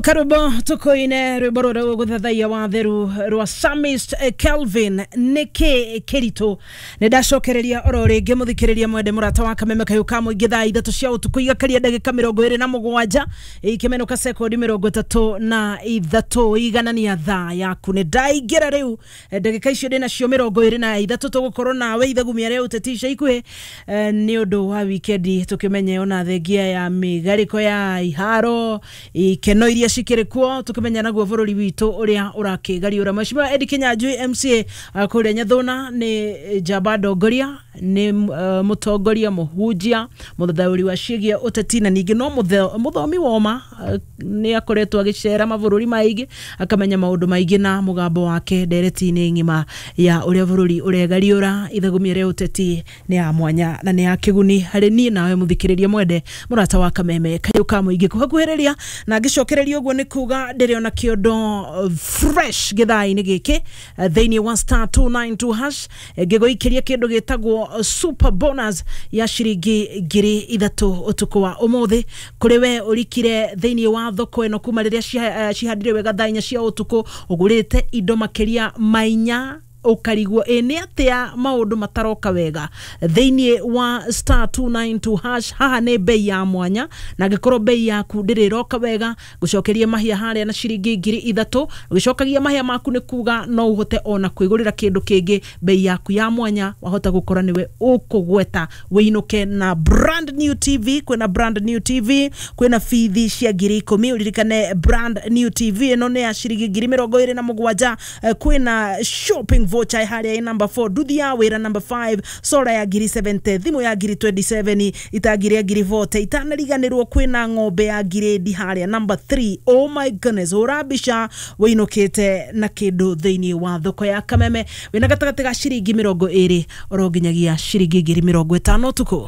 Karwimbo tukoine rwimbo rũrĩa gũthathaiya watheru rwa Psalmist Kelvin nĩkĩ kĩritũ. Nĩ ndacokereria oro rĩngĩ mũthikĩrĩria mwende mũrata wa Kameme kayũ ka mũingĩ, thaa 3 cia ũtukũ igakaria ndagĩka 27 ikĩmenũka sekondi 33, iganania thaa yaku. Nĩ ndaingĩra rĩu ndagĩka icio ndĩnacio 23, tũgũkorwo nawe ithagumia rĩa ũteti ica ikuhĩ nĩ ũndũ wa wikendi, tũkĩmenye ona thengia ya mĩgarĩko ya iharo ikeno iria cikĩrĩ kuo, tũkĩmenya naguo bũrũri witũ ũrĩa ũrakĩgariũra. Mheshimiwa Eddie Kinyanjui MCA kũrĩa Nyathuna nĩ njamba ndongoria, nĩ mũtongoria, mũhunjia, mũthathaũri wa ciĩgiĩ ũteti, na ningĩ no mũthomi woma. Nĩ akoretwo agĩcera mabũrũri maingĩ, akamenya maũndũ maingĩ, na mũgambo wake ndereti-inĩ ng'ima ya ũrĩa bũrũri ũregariũra. Ithagumia rĩa ũteti nĩ ya mwanya na nĩ ya kĩguni harĩ niĩ nawe mũthikĩrĩria mwende mũrata wa Kameme kayũ ka mũingĩ. Kũhakuhĩrĩria na ngĩcokereria ũguo nĩ kuga ndĩrĩ ona kĩondo fresh gĩthaa-inĩ gĩkĩ thĩinĩ wa *292# ngĩgũikĩria kĩndũ gĩtagwo super bonus ya ciringi 3,000 ũtukũ wa ũmũthĩ kũrĩ we ũrikire thĩinĩ wa thoko ĩno kuma rĩrĩa cihandire wega thaa 4 cia ũtukũ, ũgũrĩte indo makĩria ma 4, ũkarigwo ĩ nĩ atĩa maũndũ mataroka wega thĩinĩ wa *292#. Haha nĩ bei ya mwanya, na angĩkorwo bei yaku ndĩrĩ ĩroka wega, gũcokeria mahia harĩa na ciringi 3,000. Ũgĩcokagia mahia maku nĩ kuga no ũhote ona kwĩgũrĩra kĩndũ kĩngĩ bei yaku ya mwanya. Wahota gũkora nĩwe ũkũgweta wĩinũke na brand new TV. Kwĩna brand new TV, kwĩna bithi cia 10,000. Ũririkane brand new TV ĩno nĩ ya ciringi 27,000. Kwĩna shopping voucher harĩa ĩ number 4, nduthi ya wĩra number 5, solar ya 70,000, thimũ ya 27,000, itangi rĩa 40,000. Itanariganĩrwo kwĩna ng'ombe ya ngirĩndi harĩa number 3. Oh my goodness, hũra mbica wĩinũkĩte na kĩndũ thĩinĩ wa thoko ya Kameme wĩna gatagatĩ ga ciringi 20 oro nginyagia ciringi 50,000 ũtukũ.